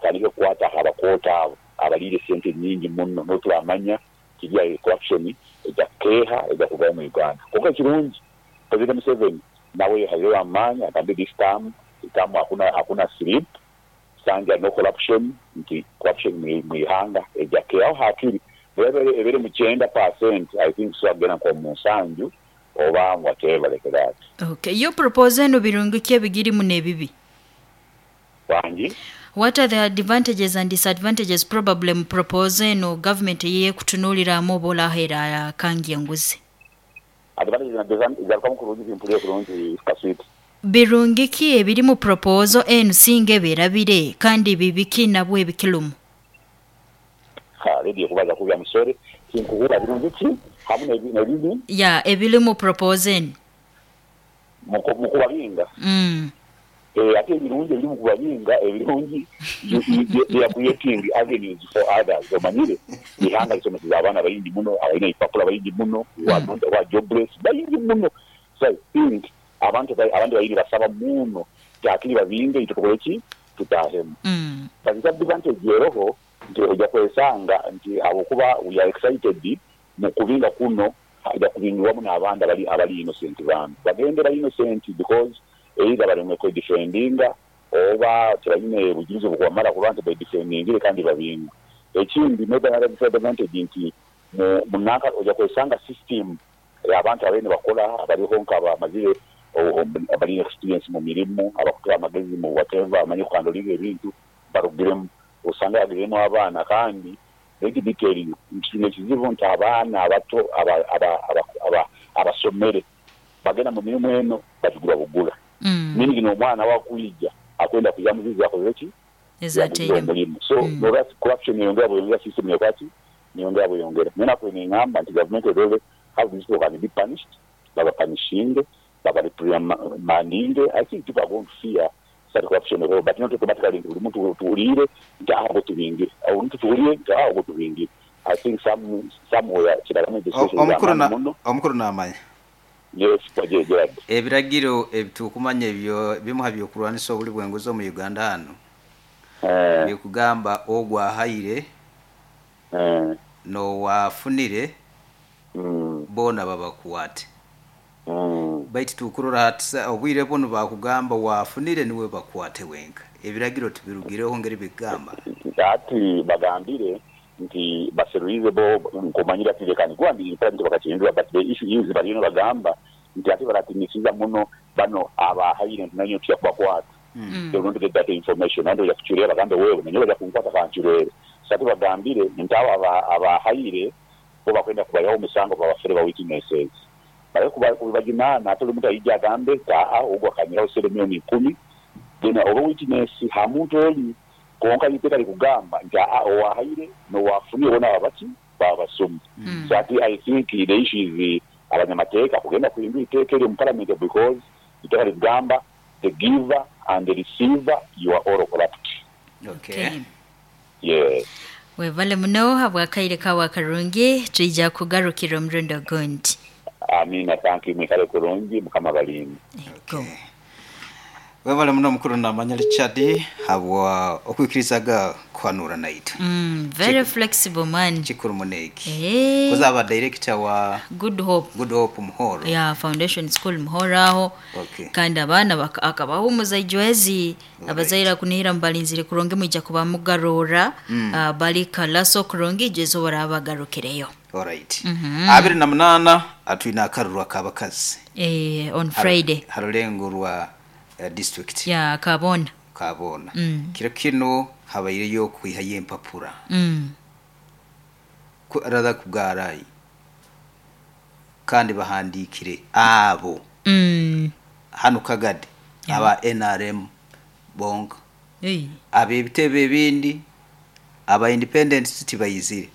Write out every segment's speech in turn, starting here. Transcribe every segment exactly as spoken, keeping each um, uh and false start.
Batandike kukwata abakoota abo abaliire sente nyingi muno, n'oturamanya kiriya corruption ejja kukeeha, ejja kuvaho mu Uganda. Konka ekirungi, President Museveni nawe yehaireyo amaani, agambire this term term hakuna hakuna sleep sanja, no corruption, nti corruption mu ihanga ejja kukeehaho hakiri ebere mu kyenda percent. I think tusobola kugenda nko mu nsanju oba whatever like that. Okay, yo proposal eno, birungi ki ebigirimu n'ebibi? Wangi? What are the advantages and disadvantages probably mu proposal eno government eyekutunuuliramu oba olaheera kangi enguzi? Advantages and disadvantages, garukamu kurungi, bimpulire kurungi, kaswiti. Birungi ki ebiri mu proposal eno singa ebeerabire, kandi bibi ki nabwo ebikirumu? Ha, radio kubaza kubya musore, tinkuhura. Birungi ki hamwe n'ebi- n'ebibi? Ya, ebiri mu proposal eno. Mu kubabinga? mm. Eh, ate ebirungi ebiri mu kubabinga, ebirungi, you- you- they are creating avenues for others. Omanyire ihanga lisomeseza abaana bayingi muno, abalina ebipapula bayingi muno, who are not- who are jobless bayingi muno. So I think abantu ba- abantu bayingi basaba muno nti akiri babinge, itwe tukole ki, tutahemu. Mm. But disadvantage eroho nti ojja kwesanga nti habwokuba we are excited mu kubinga kuno, ajja kubingibwamu n'abandi abali abali innocent. Bambi bagende bali innocent, because either balemwe kwedefendinga oba tebalina bujulizi obukwamala kuba nti bedefendingire kandi babingwe. Ekindi, maybe another disadvantage nti mu munanka ojja kwesanga system abantu abene bakola abaliho nk'abamazire abalina experience mu mirimu, abakutura amagezi mu whatever, amanyi kuhandlinga ebintu, barugiremu, osanga yagiremu abaana. Kandi let me tell you nti kino ekizibu nti abaana abato aba- aba- aba- aba- abasomere bagenda mu mirimu eno bagigura bugura. Mm. Meaning n'omwana wakwija akwenda kuja muzizi akoze ki? Yaguze Ezateiremu. omulimu. So Mm. mm. corruption yongera bweyongera, system yekwaki niyongera bweyongera. Naye nakwe nengamba nti government erole how these people can be punished, babapunishinge, babareprimandinge. I think people are going to fear such corruption at all, but not automatically nti buli muntu tuwulire nti aho ngo tubingire, aho muntu tuwulire nti aho ngo tubingire. I think some somewhere kiralamu O- omukuru na muno. Omukuru namanya. Yes, kwaje Gerard. Ebiragiro ebitukumanya ebyo bimuha byokulwanisa obuli bwenguzi omu Uganda hano eh bikugamba ogwahaire eh nowafunire mm boona babakwate. mm Baitu tukurora hatisa obwire buno bakugamba wafunire niwe bakwate wenka. Ebiragiro tubirugireho ngeri bigamba. Ati bagambire nti baseruize bo nkumanyira ati lekani gwandi parliament bakakihindura, but the issue is baliyo bagamba nti ate baratinisiza muno bano abahaire nti nanyo tuya kubakwata. Mm. They want to get that information andi oja kuchurera, bagambe wewe nanyo baja kunkwata kanchurere. So ate bagambire nti abo aba- abahaire bo bakwenda kubayaho omusango, babafere ba witnesses bale kubajunana. Ate oli muntu ayija agambe taa ogwo akanyiraho sente miliyoni ikumi, then oba witness ha muntu oli. Konka iteeka likugamba nti aa owahaire nowafunire bona babaki babasomi. Mm. So ati I think the issue is abanyamateeka kugenda kuhindura iteeka eryo mu parliament, because iteeka likugamba the giver and the receiver, you are all corrupt. Okay. Okay. Yes. Webale muno habwakaire kawe akarungi, twija kugarukira omurundi ogundi. Amina, thank you, mwikale kurungi, Mukama balinde. Ego. Webale muno mukuru namanya Richard habwa okwikirizaga kuhanura naitwe. Mm, very flexible man. Kikuru muneki Eh, kuzaba director wa Good Hope. Good Hope Muhoro. Ya foundation school Muhoro aho. Okay. Kandi abaana baka- akabahumuza ijwezi abazaire kunihira mubalinzire kurungi, mwija kuba mugarora. mm. uh, bali kalaso kurungi ijwezo baraba bagarukireyo. Alright, abiri na munana atwine akaruru akabakazi. Eh, on Friday. Harulengo rwa uh, district. Ya kabona. Kabona. Mm. Kiro kino habaireyo kwihayo empapura mm. Ku- rather kugarayi, kandi bahandikire abo Mm. hano Kagadi aba N R M bonka. Hey. Ab'ebitebe ebindi aba independent tibayizire,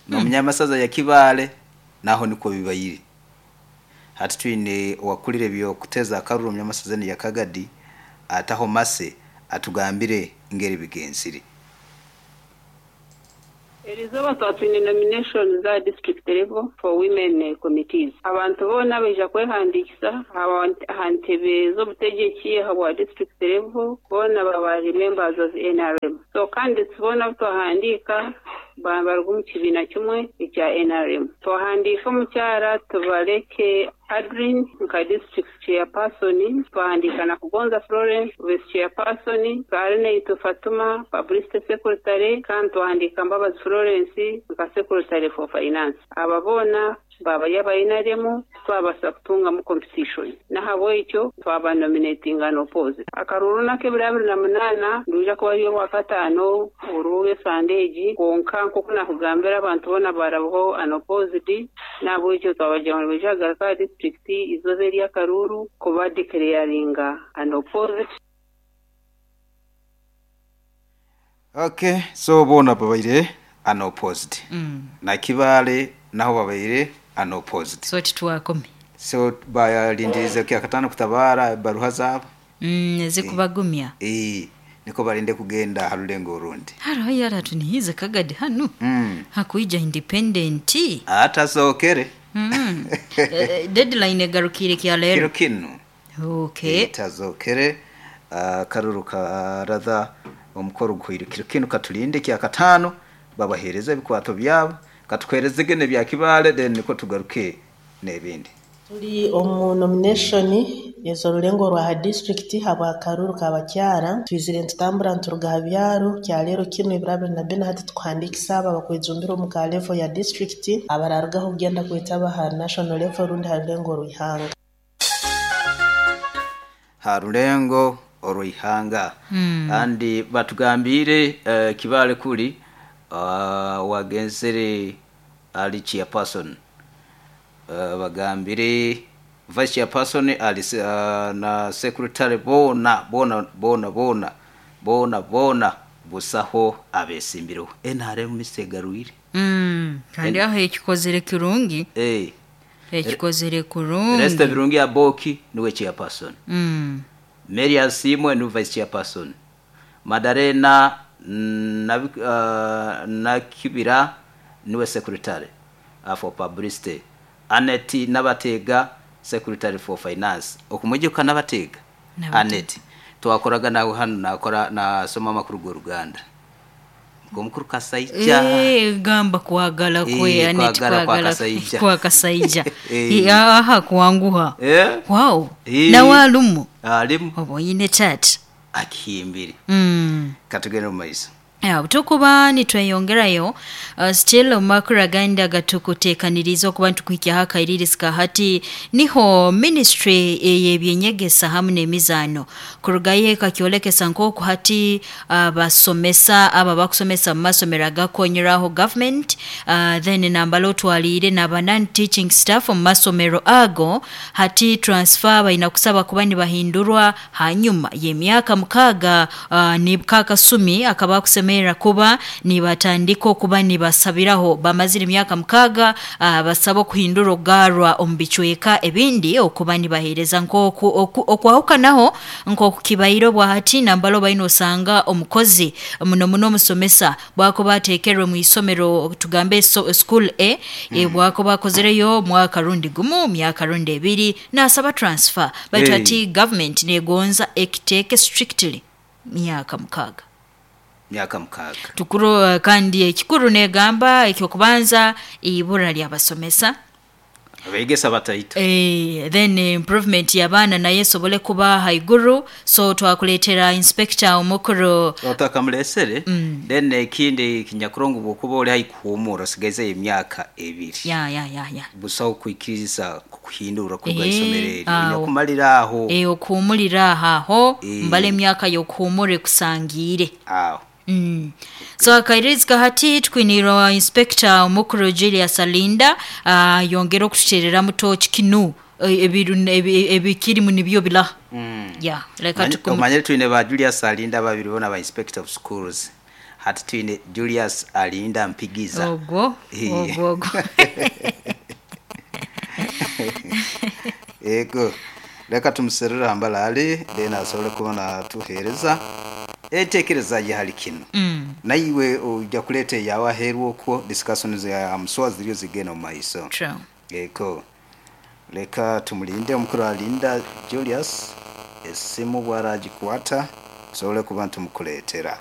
n'omunyamasaza ya Kibaale naho niko bibayire. Hati twine owakulire byokuteza akaruru omunyamasaza ya Kagadi, ataho mase atugambire ngeri bigenzire. Eriizooba twatwine nomination za district level for women committees. Abantu boona baija kwehandiikisa aha ntebe z'obutegyeki ahabwa district level, boona baba members of N R M. So candidates boona abu twahandiika baruga omu kibiina kimwe ekya N R M. Twahandiika omukyara Tubaleke Adrin nka district chairperson, twahandiika na Kugonza Florence vice chairperson, Karineitu Fatuma publicity secretary, kandi twahandiika Mbabazi Florence nka secretary for finance. Aba boona baba yaba N R M twabasa kutungamu competition. Nahabwekyo twaba nominating and opposite. Akaruru n'ak'ebiro abiri na munaana nduja kuba ari orwakataano orw'esandeegi, kwonka nk'oku nakugambira abantu boona barabaho unopposed, nahabwekyo twabagira ngu nibaija kugaruka aha district izooba ery'akaruru kuba declaringa unopposed. Okay, so boona babaire unopposed. Mm. Na Kibaale naho babaire unopposed. So titwakome. So balindirize kya katano kutabara baruha zabo. Mm, zikubagumya. Eh, niko balinde kugenda harulengo urundi. Haro yara tunihize kagadi hanu. Mm. Hakuija independent. Ata sokere. Mm. E, deadline egarukire kya lero. Kiro kinu. Okay. Itazokere uh, karuru karadha omukoro guhire kiro kinu katulinde kya katano babahereza ebikwato byabo katukwereze gene bya Kibaale then niko tugaruke n'ebindi. Tuli omu nomination ezorulengo rwa district habwa karuru kabakyara twizire ntutambura nturuga ha byaro kya lero kino ebiro abiri na bina hati tukuhandikisa aba bakwejumbira omu ka level ya district abararugaho kugenda kwetaba ha national level rundi ha rulengo rw'ihanga. Ha rulengo orw'ihanga. Mm. Kandi batugambire uh, Kibaale kuli uh, wagenzere ali chairperson. Uh, bagambire vice chairperson ali uh, na secretary bona bona bona bona bona bona busaho abesimbiro N R M misegaruire. Mm, kandi aho ekikozere kirungi. Eh. Ekikozere kurungi. Resta birungi ya Boki niwe chairperson. Mm. Mary Asimwe ni vice chairperson. Madarena na uh, na Kibira niwe secretary uh, for publicity. Aneti Nabatega secretary for finance. Okumujuka Nabatega. Aneti twakoraga nawe hano nakora na soma makuru go Ruganda. Ngomukuru Kasaija. Eh, gamba kwagala kwe e, Aneti kwagala kwa kwagala Kasaija. Kwa Kasaija. E. Aha kuanguha. Eh? Wow. E. Na walumu. Alimu. Oboyine chat. Akihimbiri. Mm. Katugende mu maiso. Ya, tukuba nitweyongerayo uh, still omakuru agandi agatukuteekaniriza okuba ntukuhikyaho akairirisika hati niho ministry ey'ebyenyegesa hamu n'emizaano kurugayo ekakyolekesa nk'oku hati abasomesa uh, aba bakusomesa mu masomero agakonyeraho government uh, then nambala otwaliire n'aba non teaching staff mu masomero ago hati transfer balina kusaba kuba nibahindurwa hanyuma y'emyaka mukaaga uh, nibukakasumi akaba kusema kuba nibatandika okuba nibasabiraho bamazire emyaka mukaaga uh, basaba okuhindura ogarwa omu bicweka ebindi okuba nibaheereza nk'oku okwahukanaho nk'oku kibaire bwahati nambalo balina osanga omukozi muno muno omusomesa bwakuba ateekerwe mu isomero tugambe so, school A mm. e, bwakuba akozereyo mwaka rundi gumu myaka rundi ebiri nasaba transfer baitu hey. Ati government negonza ekiteeke strictly myaka mukaaga myaka mukaaga tukuru kandi ekikuru negamba ekyokubanza ibura ly'abasomesa abegesa bataito eh, then improvement y'abaana naye esobole kuba haiguru so twakuleetera inspector omukuru otakamulesere mm. Then ekindi kinyakurongo bwokuba oli haikuhumura osigaze emyaka ebiri ya ya ya ya busaho kwikiriza kuhindura kuruga Eh, isomero eri awo. nyakumalira aho eh, okuhumurira aho Eh. mbala emyaka y'okuhumura ekusangiire aho. Mm. So akairizika hati tukwinirwa inspector omukuru Julius Alinda uh, yongera okututerera mutoki kinu ebiru ebikirimu nibyo bila. Mm. Yeah, leka tukum Omanyire twine ba Julius Alinda babiri bona ba inspector of schools. Hati twine Julius Alinda Mpigiza. Ogwo, Eh. ogwo ogwo. Ego. Leka tumuserere hambala ali then asobole kuba natuhereza. Entekereza ye hali kino. Mm. Naiwe ojja kuleeta eyawe aheeru okwo discussions ya muswa ziriyo zigenda omu maiso. True. Eko leka tumulinde omukuru alinda Julius, esimu bwaragikwata tusobole kuba ntumukuleetera.